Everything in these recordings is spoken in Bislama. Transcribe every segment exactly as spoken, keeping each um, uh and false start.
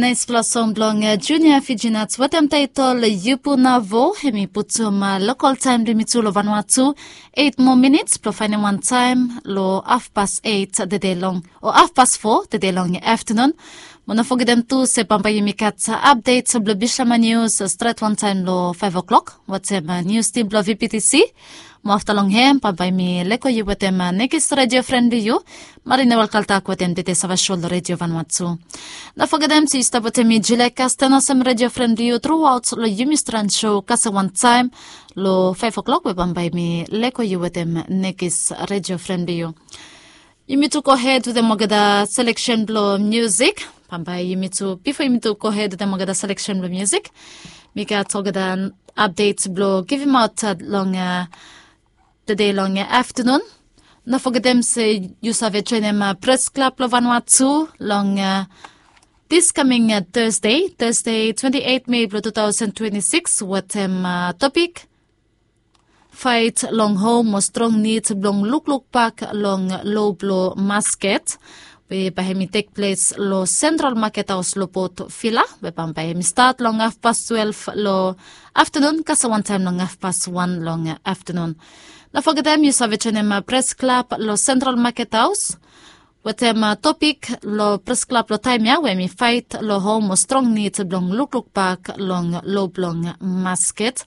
Naispela song blong Junia Fijinats wetem taitol Yupu Navo, hemi putum lokol taem blong yumi tu long Vanuatu eit moa minits blong faenem wan taem long hafpas eit tede long, o hafpas fo tede long aftanun. Mo no fogetem tu se bambae yumi gat apdet blong Bislama Nius stret wantaem long faef o'klok wetem nius tim blong VPTC. Mo afta long hem bambae mi lego yu wetem nekis redio fren blong yu, Marina Welkaltak wetem Dede Savasho long Redio Vanuatu. No fogetem se yu stap wetem mi Julia Kasten olsem redio fren blong yu truaot long yumi stran sho kasem wantaem long faef o'klok we bambae mi lego yu wetem nekis redio fren blong yu. Yumi tu gohed wetem olgeta seleksen blong musik. Bambae yumi tu, bifo yumi tu gohed wetem olgeta seleksen blong musik, mi gat olgeta apdet blong givimaot long tede long aftanun. No fogetem se yu save joenem Pres Klab blong Vanuatu long diskaming Tasde, Tasde twenti eit Mei blong tu taosen twenti sikis wetem topik Faet long hom mo strong nid blong lukluk bak long lo blong masket, we bae hemi tek ples long Sentral Maket Haos long Port Vila, we bambae hemi stat long hafpas twelef long aftanun kasem wantaem long hafpas wan long aftanun. No fogetem yu save joenem Pres Klab long Sentral Maket Haos wetem topik long Pres Klab long taem ya we hemi faet long hom mo strong nid blong lukluk bak long lo blong masket,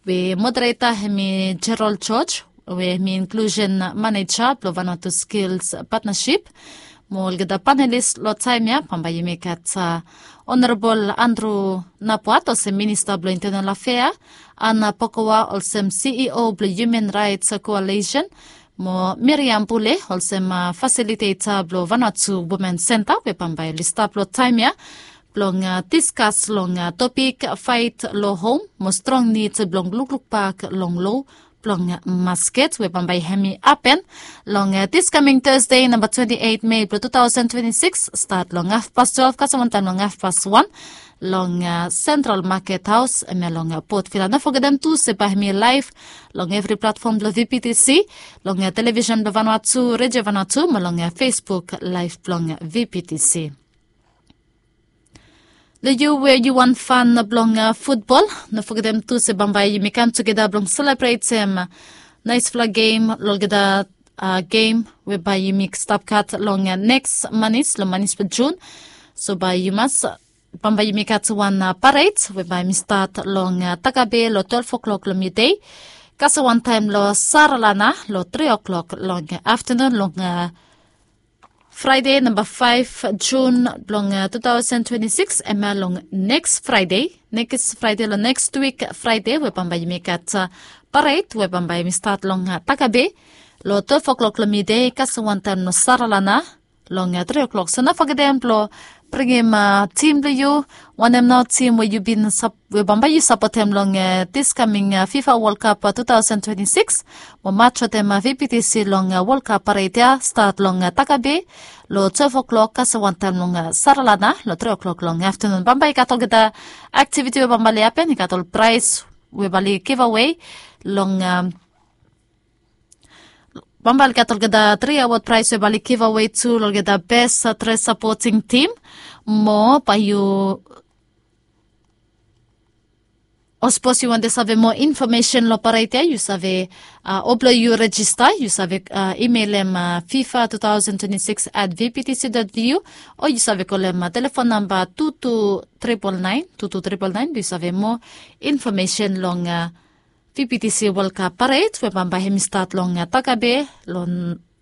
we modereta hemi Gerald George, we hemi inklusen maneja blong Vanuatu Skils Patnasip. Mo olgeta panelis long taem ya bambae yumi gat Honorabol Andru Napuat olsem Minista blong Intenal Afea, Ana Pokoa olsem CEO blong Human Raets Koalisen, mo Miriam Pule olsem fasiliteta blong Vanuatu Women Senta, we bambae oli stap long taem ya blong diskas long topik faet long hom mo strong nid blong lukluk bak long lo blong masket, we bambae hemi hapen long diskaming Tasde namba twenti eit Mei blong tu taosen twenti sikis, stat long hafpas twelef kasem wantaem long hafpas wan long Sentral Maket Haos, hemia long Port Vila. No fogetem tu se bae hemi laef long evri platfom blong VPTC, long televisen blong Vanuatu, Redio Vanuatu, mo long Facebook laef blong VPTC. Long yu we yu wan fan blong futbol, no fogetem tu se bambae yumi kam tugeta blong selebretem naesfala gem long olgeta gem we bae yumi stap gat long neks manis, long manis blong Jun. So bae yu mas, bambae yumi gat wan paret we bae hemi stat long Takabe long twelef o'klok long midei kasem wantaem long Saralana long tri o'klok long aftanun long Fraede namba faef Jun blong tu taosen twenti sikis, hemia long neks Fraede, neks Fraede long neks wik Fraede, we bambae yumi gat paret we bambae hemi stat long Takabe long twelef o'klok long midei kasem wantaem long Saralana long tri o'klok. So no fogetem blong bringim tim blong yu, wanem nao tim we yu bin sap we bambae yu sapotem long diskaming FIFA Wol Kap tu taosen twenti sikis, mo maj wetem VPTC long Wol Kap paret ya, stat long Takabe long twelef o'klok kasem wantaem long Saralana long tri o'klok long aftanun. Bambae i gat olgeta aktiviti we bambae oli hapen, i gat ol praes we bae oli givawe long bambae oli gat olgeta tri awod praes we bae oli givawe tu long olgeta bes dres sapoting tim. Mo bae yu, o sapos yu wantem save moa infomesen long paret ya, yu save, o blong yu rejista yu save imelem fifa two thousand twenty six at vptc dot vu, o yu save kolem telefon namba two two triple nine, two two triple nine blong yu save moa infomesen long VPTC Wol Kap paret we bambae hemi stat long Takabe long